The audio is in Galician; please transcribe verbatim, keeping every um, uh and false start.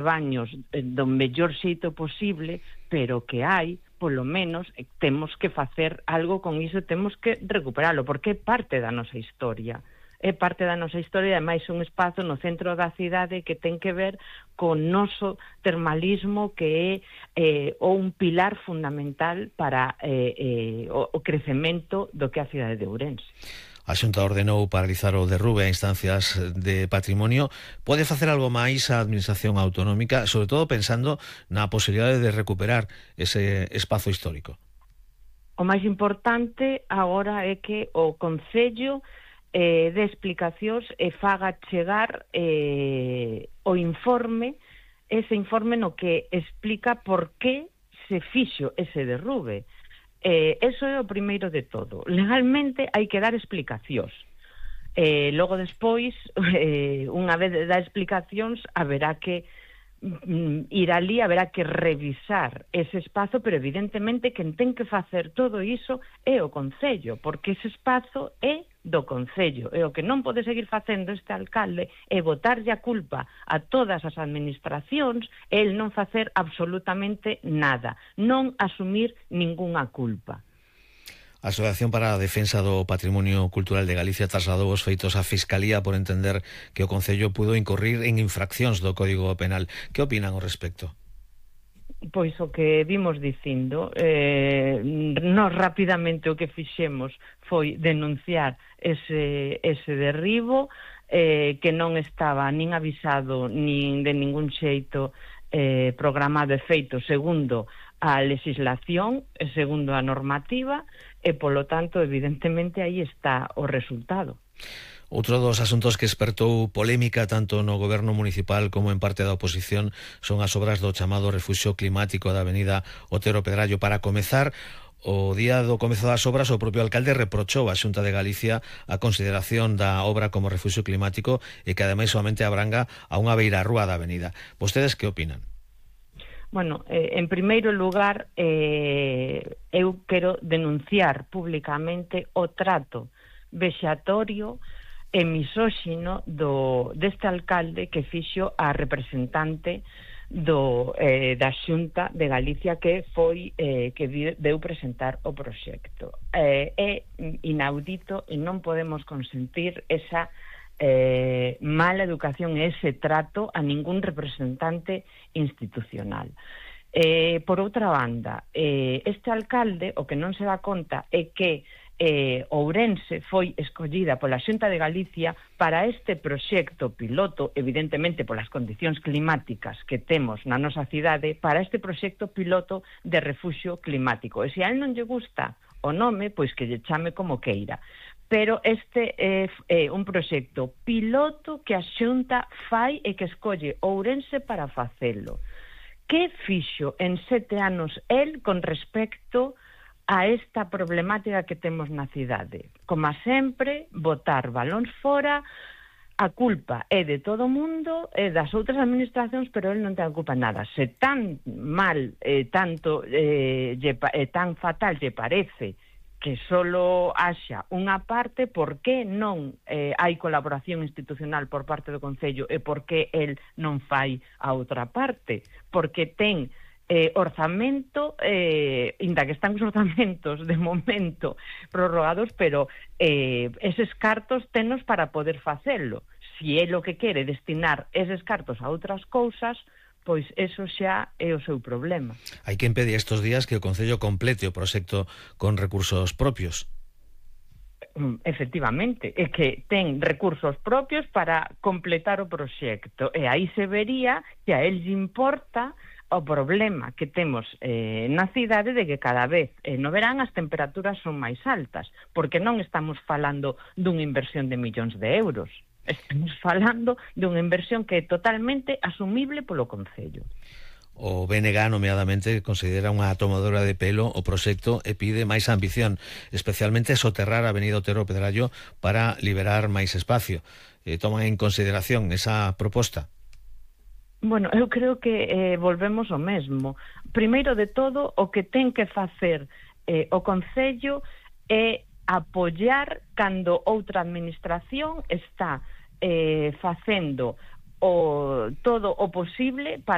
baños do mellor xeito posible, pero que hai, polo menos, temos que facer algo con iso, temos que recuperalo, porque é parte da nosa historia. É parte da nosa historia, ademais un espazo no centro da cidade que ten que ver con noso termalismo, que é eh, un pilar fundamental para eh, eh, o, o crecemento do que é a cidade de Ourense. A Xunta ordenou paralizar o derrube a instancias de patrimonio. Pode facer algo máis a Administración Autonómica, sobre todo pensando na posibilidade de recuperar ese espazo histórico? O máis importante agora é que o Concello eh, de explicacións e faga chegar eh, o informe, ese informe no que explica por que se fixo ese derrube. Eh, eso é o primeiro de todo. Legalmente hai que dar explicacións. Eh, logo despois, eh, unha vez da explicacións, haberá que mm, ir ali, haberá que revisar ese espazo, pero evidentemente quen ten que facer todo iso é o Concello, porque ese espazo é do Concello, e o que non pode seguir facendo este alcalde é botarlle a culpa a todas as administracións e el non facer absolutamente nada, non asumir ningunha culpa. A Asociación para a Defensa do Patrimonio Cultural de Galicia trasladou os feitos á Fiscalía por entender que o Concello pudo incorrir en infraccións do Código Penal. Que opinan ao respecto? Pois o que vimos dicindo, eh, nós rapidamente o que fixemos foi denunciar ese, ese derribo, eh, que non estaba nin avisado nin de ningún xeito eh, programado e feito segundo a legislación e segundo a normativa, e polo tanto evidentemente aí está o resultado. Outro dos asuntos que espertou polémica tanto no goberno municipal como en parte da oposición son as obras do chamado Refuxio Climático da avenida Otero Pedrallo. Para comezar, o día do comezo das obras, o propio alcalde reprochou á Xunta de Galicia a consideración da obra como refuxio climático e que ademais solamente abranga a unha beirarrúa da avenida. Vostedes que opinan? Bueno, eh, en primeiro lugar, eh, eu quero denunciar públicamente o trato vexatorio e misóxino do, deste alcalde que fixo a representante do, eh, da Xunta de Galicia que foi eh, que deu presentar o proxecto. Eh, é inaudito e non podemos consentir esa eh, mala educación e ese trato a ningún representante institucional. Eh, por outra banda, eh, este alcalde o que non se dá conta é que Eh, Ourense foi escollida pola Xunta de Galicia para este proxecto piloto, evidentemente polas condicións climáticas que temos na nosa cidade, para este proxecto piloto de refuxio climático. E se a él non lle gusta o nome, pois que lle chame como queira. Pero este é eh, un proxecto piloto que a Xunta fai e que escolle Ourense para facelo. Que fixo en sete anos el con respecto a esta problemática que temos na cidade? Como sempre, botar balóns fora, a culpa é de todo o mundo, é das outras administracións, pero el non ten a culpa nada. Se tan mal, eh, tanto, eh, lle, eh, tan fatal lle parece que solo haxa unha parte, por que non eh, hai colaboración institucional por parte do Concello e por que el non fai a outra parte? Porque ten Eh, orzamento, eh, inda que están os orzamentos de momento prorrogados, pero eh, eses cartos tenos para poder facelo. Si é lo que quere destinar eses cartos a outras cousas, pois eso xa é o seu problema. Hai quen pede estes días que o Concello complete o proxecto con recursos propios. Efectivamente, é que ten recursos propios para completar o proxecto, e aí se vería que a él lle importa o problema que temos eh, na cidade de que cada vez eh, no verán as temperaturas son máis altas, porque non estamos falando dunha inversión de millóns de euros, estamos falando dunha inversión que é totalmente asumible polo Concello. O B N G, nomeadamente, considera unha tomadora de pelo o proxecto e pide máis ambición, especialmente soterrar a avenida Otero Pedrallo para liberar máis espacio. Eh, toman en consideración esa proposta? Bueno, eu creo que eh, volvemos ao mesmo. Primeiro de todo, o que ten que facer eh, o Concello é apoiar cando outra administración está eh, facendo o, todo o posible para